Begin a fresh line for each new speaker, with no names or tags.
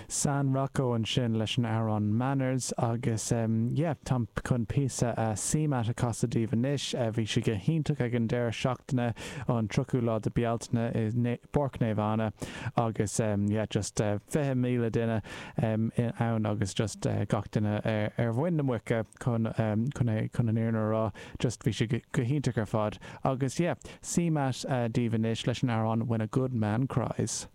San Rocco ansin leis an amhrán Manners agus yeah táim chun píosa CMAT a chasadh daoibh anois. Bhí sé go hiontach ag an deireadh seachtaine an 30ú lá de Bealtaine i bPáirc Naomh Anna agus yeah just 20,000 duine ann agus just gach duine ar mhuin na muice chun chun é chun an fhírinne a rá just bhí sé go hiontach ar fad agus yeah CMAT daoibh anois leis an amhrán When a Good Man Cries.